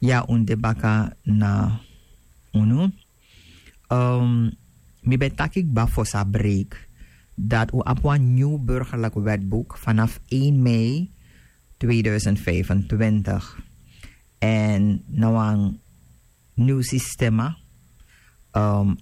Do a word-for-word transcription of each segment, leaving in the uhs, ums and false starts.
Ya un de baka na unu. Mi ben taki kba fosi a break dat un abi wan nyun burgerlik wetboek vanaf één mei tweeduizend vijfentwintig. En na wan nyun sistema.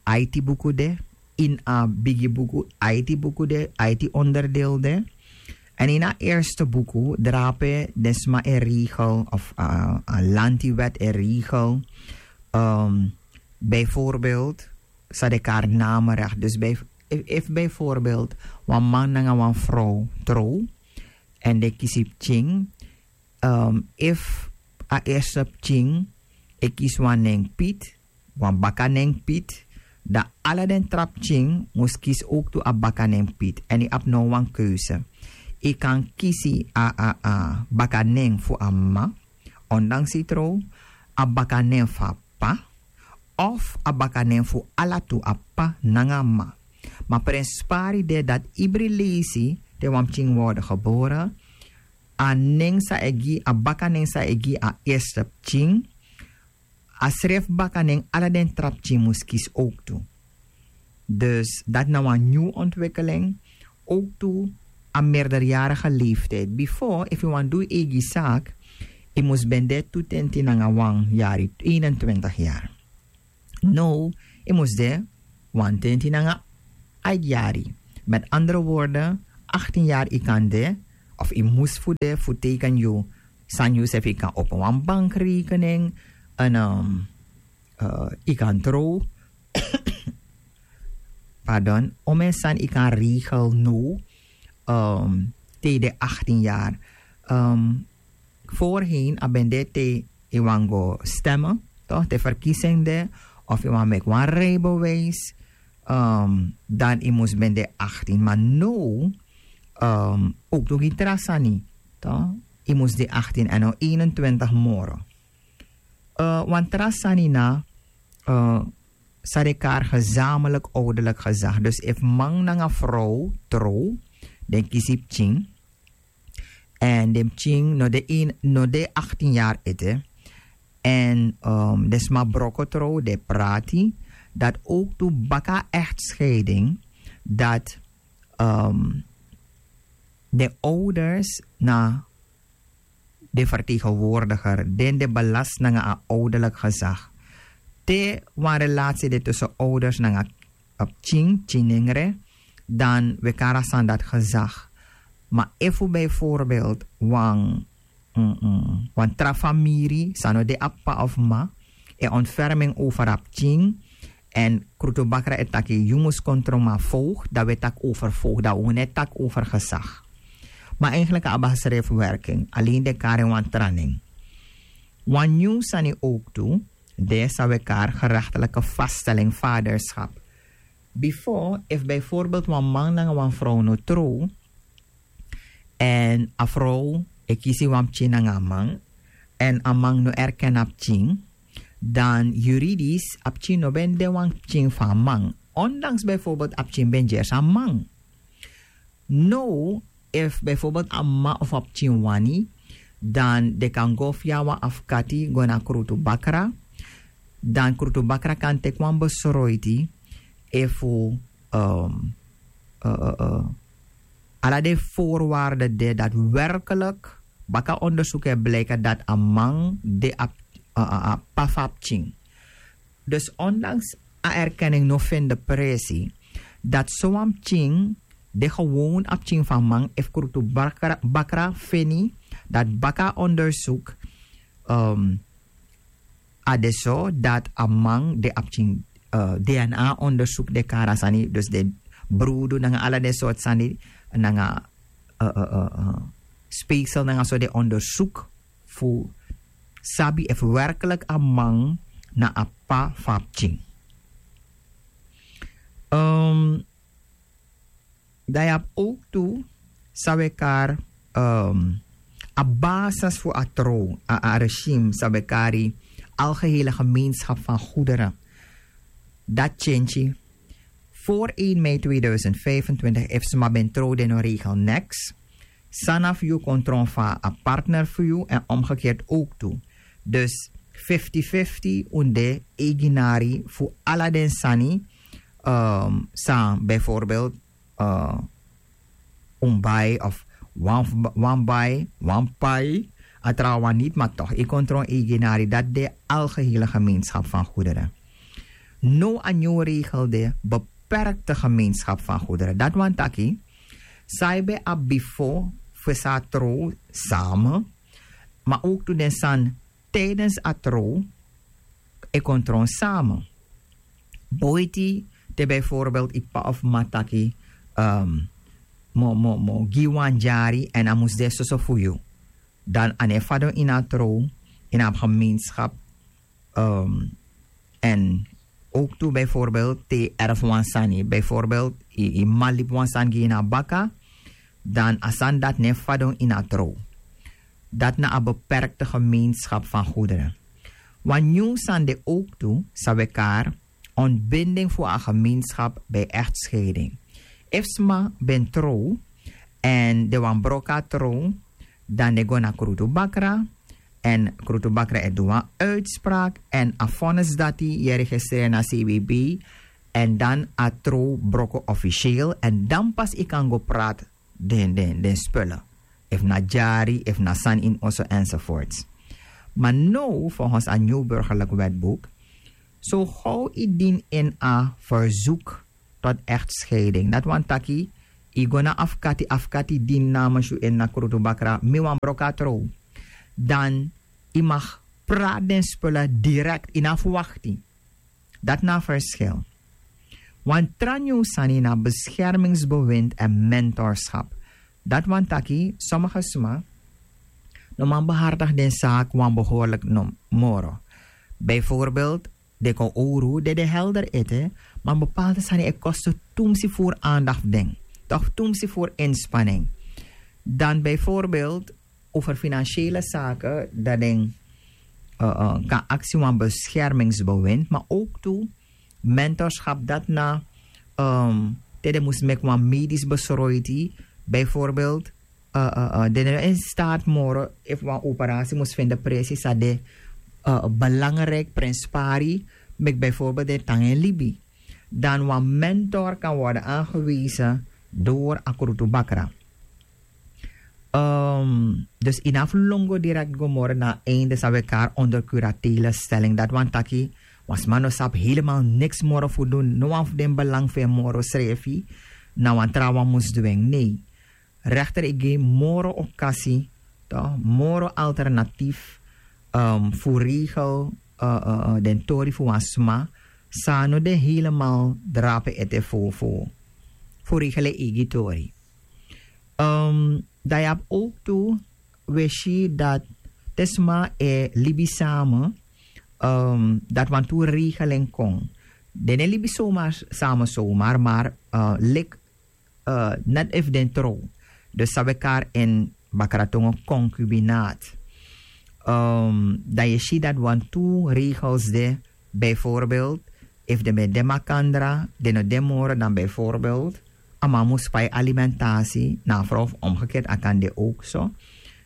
Aiti buku de, ini a bigi buku aiti buku de, aiti onderdeel de. En ini a eerste buku drape den sma e regel of a lanti wet e regel. Bijvoorbeeld sa de kari namerecht dus bij efu bijvoorbeeld wan man nanga wan frow trow en den kisi pikin. Efu a eerste pikin e kisi wan nen pit, wan baka nen pit, dan ala den tra pikin mus kisi owktu a baka nen pit. Èn yu abi no wan keuze. Yu kan kisi a a a baka nen fu a m'ma, ondanks yu trow, a baka nen fu a p'pa, of a baka nen fu ala tu a p'pa nanga a m'ma. Ma prenspari de dati ibri leisi te wan pikin worde gebore, a nen san e gi a baka nen san e gi a eerste pikin, a srefi baka nen ala den tra pikin mus kisi owktu. Dus dati na wan nyun ontwikkeling. Owktu a merderjarige leeftijd bifo efu yu wani du yu eigi saki, yu mus ben de tu tenti nanga wan yari eenentwintig yari. Now yu mus de wan tenti nanga aiti yari. Met andere worde, achttien yari yu kan de of yu mus fu de fu teken yu sani yu srefi yu kan opo wan bankrekening. En yu kan trow. Pardon, omen sani yu kan regel now. Te yu de achttien yari. Voorheen a ben de te yu wani go stemme, toch, te verkiezing de, of yu wani meki wan rijbewijs, dan yu mus ben de achttien. Ma now owktu gi tra sani, toch, yu mus de achttien en no eenentwintig moro. Wan tra sani na san den kari gezamelik ouderlik gezag. Dus efu man nanga frow trow, den kisi pikin, en den pikin no de achttien yari ete, en den sma broko trow, den prati, dati owktu baka echtscheiding, dati den ouders na den vertegenwoordiger, den de belast nanga a ouderlik gezag. Te wan relatie de tussen ouders nanga pikin, pikin nengre, dan we kari a sani dati gezag. Ma efu bijvoorbeeld wan wan tra famiri san no de a p'pa of m'ma e ontferming over a pikin, en krutubakra e taki yu mus kon tron mi a voogd, dan we taki over voogd, dan we no e taki over gezag. Ma eigenlik a abi a srefi werking, alen den kari en wan tra nen. Wan nyun sani owktu de san we kari gerechtelijke vaststelling vaderschap. Bifo efu bijvoorbeeld wan man nanga wan frow no trow, en a frow e kisi wan pikin nanga a man, en a man no erken a pikin, dan juridisch a pikin no ben de wan pikin fu a man, ondanks bijvoorbeeld a pikin ben gersi a man. Now efu bijvoorbeeld a m'ma of a pikin wani, dan den kan go via wan afkati go na krutubakra. Dan krutubakra kan teki wan besroiti efu ala den voorwaarden de dati werkelijk baka ondersuku e bliki dati a man de a p'pa fu a pikin. Dus ondanks a erkenning no feni de presi dati sowan pikin de gewoon a pikin fu a man, efu krutubakra feni dati baka ondersuku a de so dati a man de a pikin. Dna ondersuku de kari a sani, dus de brudu nanga ala den sortu sani nanga speeksel nanga so de ondersuku fu sabi efu werkelijk a man na a p'pa fu a pikin. Dan yu abi owktu san we kari a basis fu a trow, a regime san we kari algehele gemeenschap van goederen. Dati tyentyi. Voor één mei tweeduizend vijfentwintig efu sma ben trow den no regel neks. San na fu yu kon tron fu a partner fu yu en omgekeerd owktu. Dus fifti fifti un de eiginari fu ala den sani. San bijvoorbeeld un bai of wan bai wan pai a trawan niti ma tok' yu kon tron eiginari dati de algehele gemeenskap fan goederen. No a nyun regel de beperkte gemeenskap fan goederen dati wani taki san yu ben abi bifo fu san a trow same ma ook tu den sani tijdens a trow e kon tron same. Boiti te bijvoorbeeld yu pa of mama taki mo gi wan dyari èn a mus de soso fu yu dan a no e fadon ini a trow ini a gemeenskap. En ook tu bijvoorbeeld te yu erf wan sani bijvoorbeeld yu mama libi wan sani gi yu na baka dan a sani dati no e fadon ini a trow. Dati na a beperkte gemeenskap fan goederen. Wan nyun sani de ook tu san we kari ontbinding fu a gemeenskap bij echtscheiding. Efu sma ben trow èn den wani broko a trow dan den go na krutu bakra. Èn krutu bakra e du wan uitspraak èn a vonnis dati yu e registreer na cwb. Èn dan a trow broko officieel èn dan pas yu kan go praat den den den spullen efu na dyari efu na sani ini oso enzovoorts. Ma now volgens a nyun burgerlijk wetboek so how yu dini ini a verzoek tot echtscheiding dati wani taki yu go na afkati afkati dini namens yu ini na krutu bakra mi wani broko a trow dan yu mag praat den spullen direkt yu na fu wakti. Dati na a verschil. Wan tra nyun sani na beschermingsbewind èn mentorschap. Dati wani taki sommige sma no man behartig den saak wan behoorlijk no moro. Bijvoorbeeld den kon owru den de helder ete ma bepaalde sani e koste tumsi voer aandacht fu den toch tumsi voer inspanning. Dan bijvoorbeeld over financiële zaken dat den kan aksi wan beschermingsbewind maar ook tu mentorschap dat na te den mus meki wan medisch besroiti bijvoorbeeld den no in staat moro efu wan operatie mus vinden precies a de belangrijk prinspari meki bijvoorbeeld den tan en libi dan wan mentor kan worden aangewezen door a krutu bakra. Dus yu na fu lon go direkt go moro na a einde san we kari onder kuratele stelling dati wani taki wan sma no sabi helemaal niks moro fu dun no wan fu den belang fu en moro srefi na wan trawan mus dwing nei. Rechter e gi moro okasi moro alternatief fu regel den tori fu wan sma san no de helemaal drape ete fu fu fu regel en eigi tori. Dan yu abi ook tu we si dat te sma e libi same dat wan tu regeling kon den no e libi somar same somar maar lik net efu den trow dus san we kari in bakratongo concubinaat. Dan yu si dat wan tu regels de bijvoorbeeld efu den ben de makandra den no de moro dan bijvoorbeeld a man mus pai alimentatie na a vrouw of omgekeerd a kan de ook so.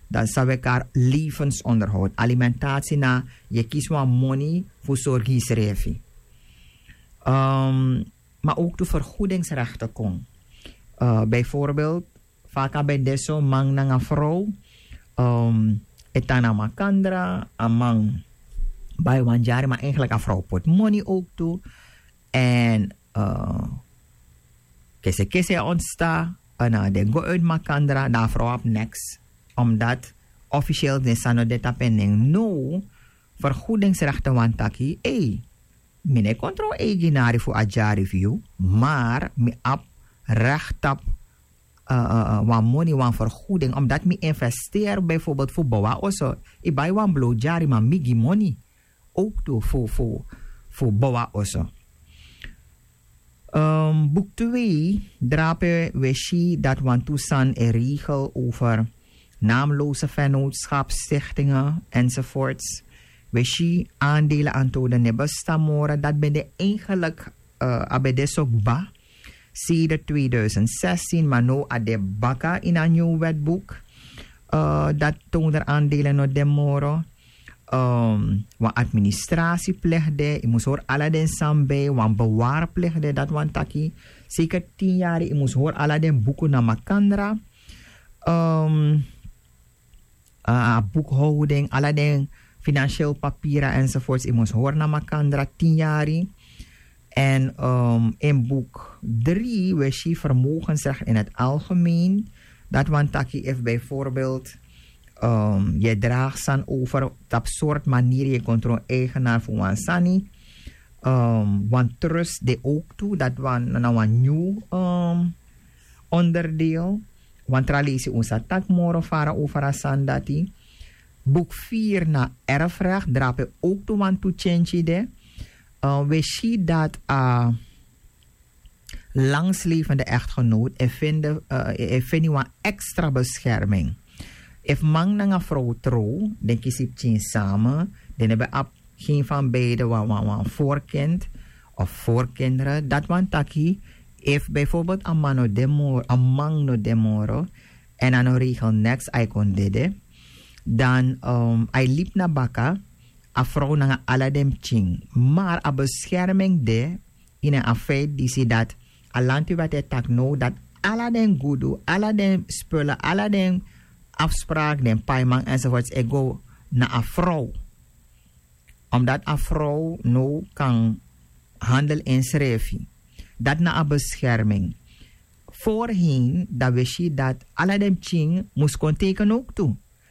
Dan san we kari levensonderhoud alimentatie na yu kisi wan moni fu sorgi yusrefi. Maar ook tu vergoedingsrechten kon bijvoorbeeld fa a kan ben de so man nanga vrouw e tan na makandra a man bai wan dyari maar eigenlijk a vrouw poti moni ook tu. En kese kese ontsta na den go uit makandra dan a vrouw abi niks omdat officieel den sani no de tapu en nen no. Vergoedingsrechten wani taki ei mi no e kontrol eiginari fu a dyari fu yu maar mi abi recht tapu wan moni wan vergoeding omdat mi investeer bijvoorbeeld fu bow a oso. Yu bai wan blow dyari maar mi gi moni ook tu fu fu fu bow a oso. Boek twee drape we si dat wan tu sani e regel over naamloze vennootschap stichtingen enzovoorts. We si aandelen antoden ne bestan moro dat ben de eigenlijk a ben de so kba sedert tweeduizend zestien maar no a de baka ini a nyun wetboek. Dat toonder aandelen no de moro. wan administrasi plegde, yu mus hori ala den sani bij, wan bewari plegde, dati wani taki seker tin yari yu mus hori ala den buku na makandra. A boekhouding, ala den financieel papira enzovoorts, yu mus hori na makandra tin yari. En in boek drie we si vermogensrecht in het algemeen. Dat wani taki efu bijvoorbeeld yu e dragi sani over tapu sortu maniri yu e kon tron eigenaar fu wan sani, wan trust de ook tu, dat wani na wan nyun onderdeel. Wan tra lesi un sa taki moro fara over a sani dati. Boek vier na erfrecht drape ook tu wan tu change de. We si dat a langslevende echtgenoot e feni wan extra bescherming. Efu man nanga frow trow, den kisi pikin same, den no ben abi gen fan beide wan wan wan voorkind of voorkinderen, dat wani taki efu bijvoorbeeld a man no de moro, a man no de moro, en a no regel neks, a e kon dede, dan a e libi na baka, a frow nanga ala den pikin. Maar a bescherming de ini a feit disi dat a lanti wet e taki now dat ala den gudu, ala den spullen, ala den afspraak, den paiman enzovoorts e go na a frow. Omdat a frow now kan handel insrefi. Dat na a bescherming. Voorheen dan we si dat ala den pikin mus kon teken ook tu.